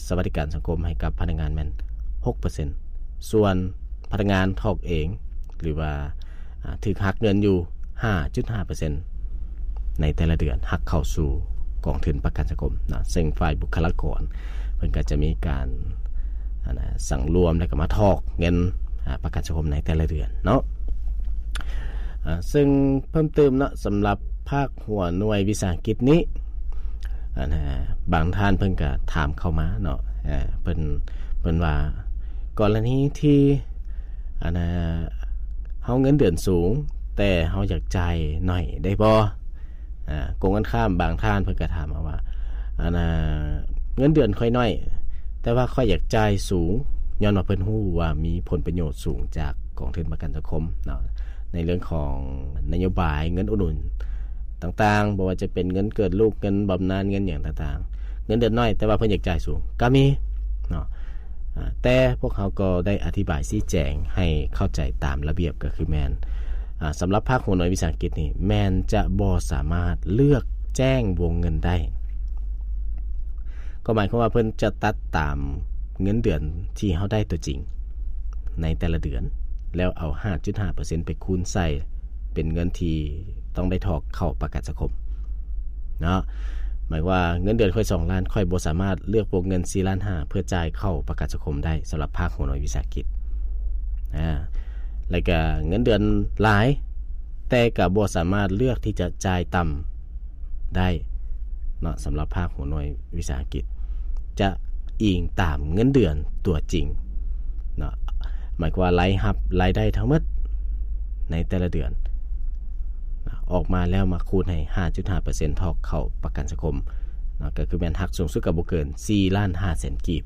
ສະຫວັດດີການສັງຄົມໃຫ້ກັບພະນັກງານແມ່ນຫົກເປີເຊັນ, ສ່ວນພະນັກງານຖອກເອງ ຫຼືວ່າ ອາ ຖືກຫັກເງິນຢູ່ຫ້າຈຸດຫ້າເປີເຊັນ ໃນແຕ່ລະເດືອນ ຫັກເຂົ້າສູ່ກອງທຶນປະກັນສັງຄົມເນາະ, ເຊິ່ງຝ່າຍບຸກຄະລາກອນເພິ່ນກໍຈະມີການ ອັນນະ ສັງລວມ ແລ້ວກໍມາຖອກເງິນ ອາ ປະກັນສັງຄົມໃນແຕ່ລະເດືອນເນາະ. ອາ ເຊິ່ງເພີ່ມເຕີມເນາະ ສຳລັບພາກຫົວໜ່ວຍວິສາຫະກິດນີ້ ອັນນະ ບາງທ່ານເພິ່ນກໍຖາມເຂົ້າມາເນາະ, ເອີ ເພິ່ນ ເພິ່ນວ່າ ກໍລະນີທີ່ ອັນນະ ເຮົາເງິນເດືອນສູງ ແຕ່ເຮົາຢາກຈ່າຍໜ້ອຍໄດ້ບໍ່? ອາ ກົງກັນຂ້າມ ບາງທ່ານເພິ່ນກໍຖາມມາວ່າ ອັນນະ ເງິນເດືອນຂ້ອຍໜ້ອຍ ແຕ່ວ່າຂ້ອຍຢາກຈ່າຍສູງ ຍ້ອນວ່າເພິ່ນຮູ້ວ່າມີຜົນປະໂຫຍດສູງຈາກກອງທຶນປະກັນສັງຄົມເນາະ ໃນເລື່ອງຂອງນະໂຍບາຍເງິນອຸດໜູນຕ່າງໆ, ບໍ່ວ່າຈະເປັນເງິນເກີດລູກ, ເງິນບຳນານ, ເງິນຫຍັງຕ່າງໆ. ເງິນເດືອນໜ້ອຍ ແຕ່ວ່າເພິ່ນຢາກຈ່າຍສູງກໍມີເນາະ. ອາ ແຕ່ພວກເຮົາກໍໄດ້ອະທິບາຍຊີ້ແຈງໃຫ້ເຂົ້າໃຈຕາມລະບຽບ ກໍຄືແມ່ນ ອາ ສຳລັບພາກຫົວໜ່ວຍວິສາຫະກິດນີ້ ແມ່ນຈະບໍ່ສາມາດເລືອກແຈ້ງວົງເງິນໄດ້, ກໍໝາຍຄວາມວ່າເພິ່ນຈະຕັດຕາມເງິນເດືອນທີ່ເຮົາໄດ້ຕົວຈິງໃນແຕ່ລະເດືອນ ແລ້ວເອົາຫ້າຈຸດຫ້າເປີເຊັນໄປຄູນໃສ່ເປັນເງິນທີ່ຕ້ອງໄດ້ຖອກເຂົ້າປະກັນສັງຄົມເນາະ. ໝາຍວ່າເງິນເດືອນຂ້ອຍສອງລ້ານ ຂ້ອຍບໍ່ສາມາດເລືອກວົງເງິນສີ່ລ້ານຫ້າ ເພື່ອຈ່າຍເຂົ້າປະກັນສັງຄົມໄດ້ ສຳລັບພາກຫົວໜ່ວຍວິສາຫະກິດ. ອາ ແລ້ວກະເງິນເດືອນຫຼາຍ ແຕ່ກະບໍ່ສາມາດເລືອກທີ່ຈະຈ່າຍຕ່ຳໄດ້ເນາະ, ສຳລັບພາກຫົວໜ່ວຍວິສາຫະກິດ ຈະອີງຕາມເງິນເດືອນຕົວຈິງເນາະ, ໝາຍຄວາມວ່າລາຍຮັບລາຍໄດ້ທັງໝົດໃນແຕ່ລະເດືອນ ອອກມາແລ້ວມາຄູນໃຫ້ຫ້າຈຸດຫ້າເປີເຊັນ ຖອກເຂົ້າປະກັນສັງຄົມເນາະ, ກໍຄືແມ່ນຫັກສູງສຸດກໍບໍ່ເກີນສີ່ລ້ານຫ້າແສນກີບ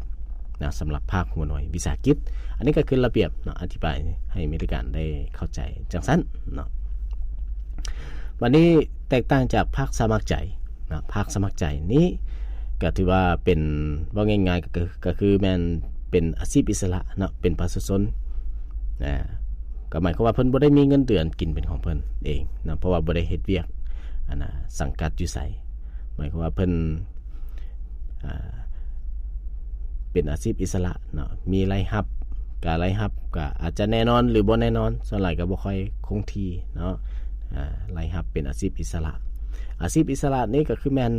ເນາະ, ສຳລັບພາກຫົວໜ່ວຍວິສາຫະກິດ. ອັນນີ້ກໍຄືລະບຽບເນາະ, ອະທິບາຍໃຫ້ມີລາຍການໄດ້ເຂົ້າໃຈຈັ່ງຊັ້ນເນາະ. ບັດນີ້ແຕກຕ່າງຈາກພາກສະໝັກໃຈເນາະ, ພາກສະໝັກໃຈນີ້ກໍຖືວ່າເປັນ ເວົ້າງ່າຍໆ ກໍຄື ກໍຄືແມ່ນເປັນອາຊີບອິດສະຫຼະເນາະ, ເປັນປະຊາຊົນນະ, ກໍໝາຍຄວາມວ່າເພິ່ນບໍ່ໄດ້ມີເງິນເດືອນກິນເປັນຂອງເພິ່ນເອງເນາະ, ເພາະວ່າບໍ່ໄດ້ເຮັດວຽກ ອັນນະ ສັງກັດຢູ່ໃສ. ໝາຍຄວາມວ່າເພິ່ນ ອ່າ ເປັນອາຊີບອິດສະຫຼະເນາະ, ມີລາຍຮັບ ກະລາຍຮັບກະອາດຈະແນ່ນອນ ຫຼື ບໍ່ແນ່ນອນ, ສ່ວນຫຼາຍກໍບໍ່ຄ່ອຍຄົງທີ່ເນາະ. ອ່າ ລາຍຮັບເປັນອາຊີບອິດສະຫຼະ, ອາຊີບອິດສະຫຼະນີ້ກໍຄືແມ່ນ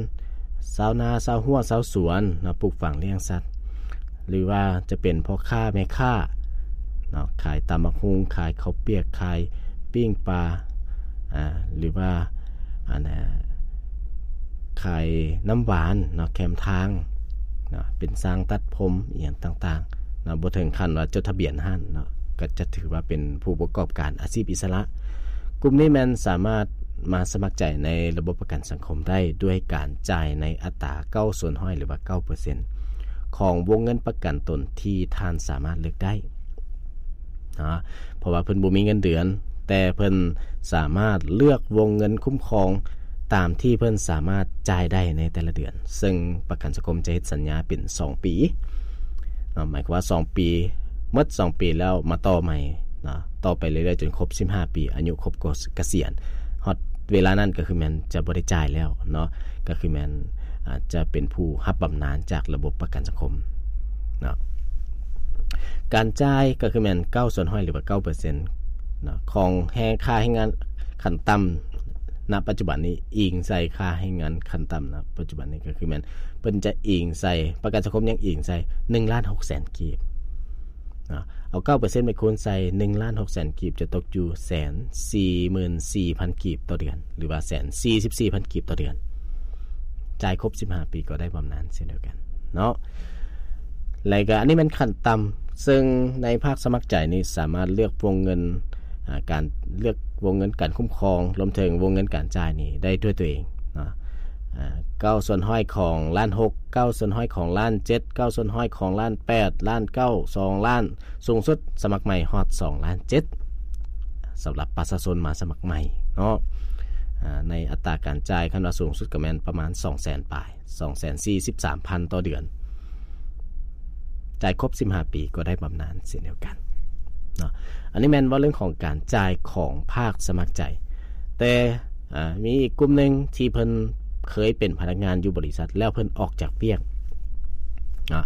ຊາວນາ ຊາວຮົ້ວ ຊາວສວນເນາະ, ປູກຝັງລ້ຽງສັດ ຫຼືວ່າຈະເປັນພໍ່ຄ້າແມ່ຄ້າເນາະ, ຂາຍຕຳບັກຫຸ່ງ ຂາຍເຂົ້າປຽກ ຂາຍປີ້ງປາ ອ່າ ຫຼືວ່າ ອັນນະ ຂາຍນ້ຳຫວານເນາະ ແຄມທາງເນາະ, ເປັນຊ່າງຕັດຜົມອີ່ຫຍັງຕ່າງໆເນາະ, ບໍ່ເຖິງຂັ້ນວ່າຈົດທະບຽນຮ້ານເນາະ, ກໍຈະຖືວ່າເປັນຜູ້ປະກອບການອາຊີບອິດສະຫຼະ. ກຸ່ມນີ້ແມ່ນສາມາດມາສະໝັກໃຈໃນລະບົບປະກັນສັງຄົມໄດ້ ດ້ວຍການຈ່າຍໃນອັດຕາເກົ້າສ່ວນຮ້ອຍ ຫຼືວ່າເກົ້າເປີເຊັນ ຂອງວົງເງິນປະກັນຕົນທີ່ທ່ານສາມາດເລືອກໄດ້ເນາະ, ເພາະວ່າເພິ່ນບໍ່ມີເງິນເດືອນ, ແຕ່ເພິ່ນສາມາດເລືອກວົງເງິນຄຸ້ມຄອງຕາມທີ່ເພິ່ນສາມາດຈ່າຍໄດ້ໃນແຕ່ລະເດືອນ, ເຊິ່ງປະກັນສັງຄົມຈະເຮັດສັນຍາເປັນສອງປີເນາະ, ໝາຍຄວາມວ່າສອງປີ ໝົດສອງປີແລ້ວມາຕໍ່ໃໝ່ເນາະ, ຕໍ່ໄປເລື້ອຍໆ ຈົນຄົບສິບຫ້າປີ ອາຍຸຄົບກະສຽນ, ຮອດເວລານັ້ນກໍຄືແມ່ນຈະບໍ່ໄດ້ຈ່າຍແລ້ວເນາະ, ກໍຄືແມ່ນ ອາດຈະເປັນຜູ້ຮັບບຳນານຈາກລະບົບປະກັນສັງຄົມເນາະ. ການຈ່າຍກໍຄືແມ່ນເກົ້າສ່ວນຮ້ອຍ ຫຼືວ່າເກົ້າເປີເຊັນເນາະ ຂອງແຮງ ຄ່າແຮງງານຂັ້ນຕ່ຳ ນະປັດຈຸບັນນີ້ ອີງໃສ່ຄ່າແຮງງານຂັ້ນຕ່ຳນະປັດຈຸບັນນີ້ ກໍຄືແມ່ນເພິ່ນຈະອີງໃສ່ ປະກັນສັງຄົມຍັງອີງໃສ່ໜຶ່ງລ້ານຫົກແສນກີບເນາະ, ເອົາເກົ້າເປີເຊັນໄປຄູນໃສ່ໜຶ່ງລ້ານຫົກແສນກີບ ຈະຕົກຢູ່ແສນສີ່ໝື່ນສີ່ພັນກີບຕໍ່ເດືອນ ຫຼືວ່າແສນສີ່ສິບສີ່ພັນກີບຕໍ່ເດືອນ. ຈ່າຍຄົບສິບຫ້າປີກໍໄດ້ບຳນານເຊັ່ນດຽວກັນເນາະ. ແລະກະອັນນີ້ແມ່ນຂັ້ນຕ່ຳ, ເຊິ່ງໃນພາກສະໝັກໃຈນີ້ສາມາດເລືອກວົງເງິນ ອາ ການເລືອກວົງເງິນການຄຸ້ມຄອງ ລວມເຖິງວົງເງິນການຈ່າຍນີ້ໄດ້ດ້ວຍຕົວເອງເນາະ, ອາ ເກົ້າສ່ວນຮ້ອຍຂອງລ້ານຫົກ, ເກົ້າສ່ວນຮ້ອຍຂອງລ້ານເຈັດ, ເກົ້າສ່ວນຮ້ອຍຂອງລ້ານແປດ, ລ້ານເກົ້າ, ສອງລ້ານ, ສູງສຸດສະໝັກໃໝ່ຮອດສອງລ້ານເຈັດ ສຳລັບປະຊາຊົນມາສະໝັກໃໝ່ເນາະ, ອາ ໃນອັດຕາການຈ່າຍ ຄັນວ່າສູງສຸດກໍແມ່ນປະມານສອງແສນປາຍ ສອງແສນສີ່ສິບສາມພັນຕໍ່ເດືອນ, ຈ່າຍຄົບສິບຫ້າປີກໍໄດ້ບຳນານເຊັ່ນດຽວກັນເນາະ. ອັນນີ້ແມ່ນເວົ້າເລື່ອງຂອງການຈ່າຍຂອງພາກສະໝັກໃຈ, ແຕ່ ອາ ມີອີກກຸ່ມໜຶ່ງທີ່ເພິ່ນເຄີຍເປັນພະນັກງານຢູ່ບໍລິສັດ ແລ້ວເພິ່ນອອກຈາກວຽກເນາະ,